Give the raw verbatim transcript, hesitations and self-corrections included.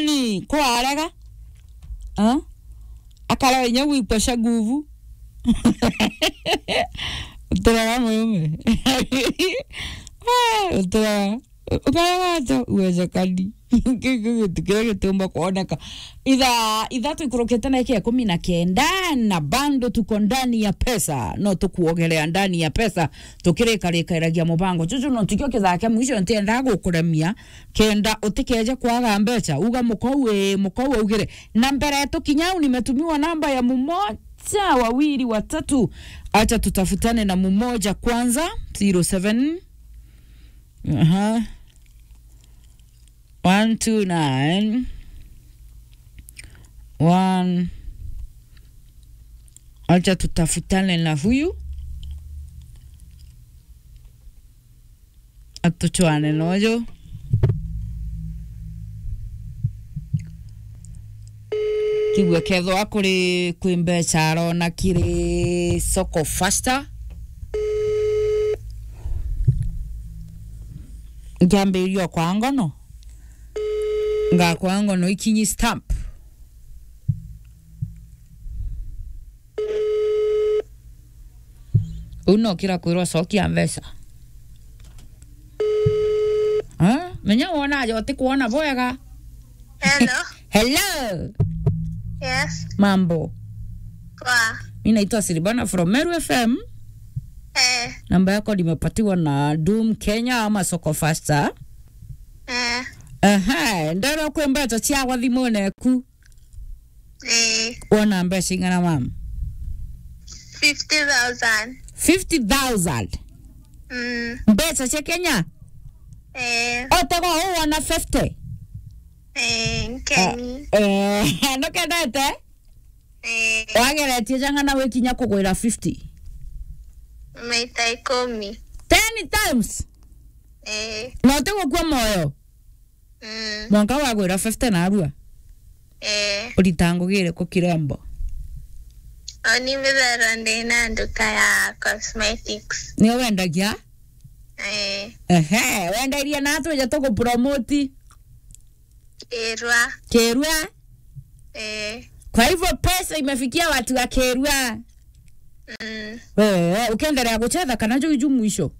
Ni kwarega. Ah? Akarega inya gwikwa cia nguvu. Uturega murume. Ah, uturega. Ukarega atia uwezekani? Kiu kiu gitu kiria gitiumba kwoneka. Ithaa ithatu ikurukite na ikia ikumi na kenda, na bando tuko ndani ya pesa. No tukuogerea ndani ya pesa. Tukirikarikaragia mubango. Juju no tikio kithaa kia mwisho, ntiendaa gukuremia. Kenda utikeje kwaga mbeca, uga mukau ii, mukau augire. Na mbere tukinya au, nimetumiwa namba ya mumoja, wawili, watatu. Acha tutafutane na mumoja kwanza. Zero seven. Aha. One two nine. One. Acha tutafutane na huyu. Atuchwane nojo. Kigue kethwa kuri kwi mbeca arona kiri soko faster. Ngiambiriria kwa ngono. Ngakwa ngono ikinyi stamp. Uu no kira kwirwa cokia mbeca. Ah, menya wona aja utikuona bwega. Hello. Hello. Yes. Mambo. Poa. Mi naitwa Silvana from Meru F M. Eh. Namba yako nimepatiwa na Doom Kenya ama Soko Faster. Eh. Aha, ndero kwi mbeca ciakwa thimune ku. Eh. Wona mbeca ing'ana, mam? Fifty thousand. Fifty thousand? Mm. Mbeca cia Kenya? Eh. Otaga uu wona fifty? Eh, nkeni. Eh, eh, ndukendete? Eh. Wageretie jang'ana wikinya kugwira fifty? Maita ikumi. Ten times? Eh. Na utigukua moyo? Mm. Mwanka wagwira fifty narua? Eh. Urita ngugi iriku kirembo? Oni mbithagirwa ndi na nduka ya cosmetics. Nio wendagia? Eh. Ehe, wendairie na atwija tugupromoti? Kirua. Kirua? Eh. Kwa hivyo pesa imefikia watu wa Kirua? Mm. Wewe, ukiendelea kucheza kana juu juu mwisho?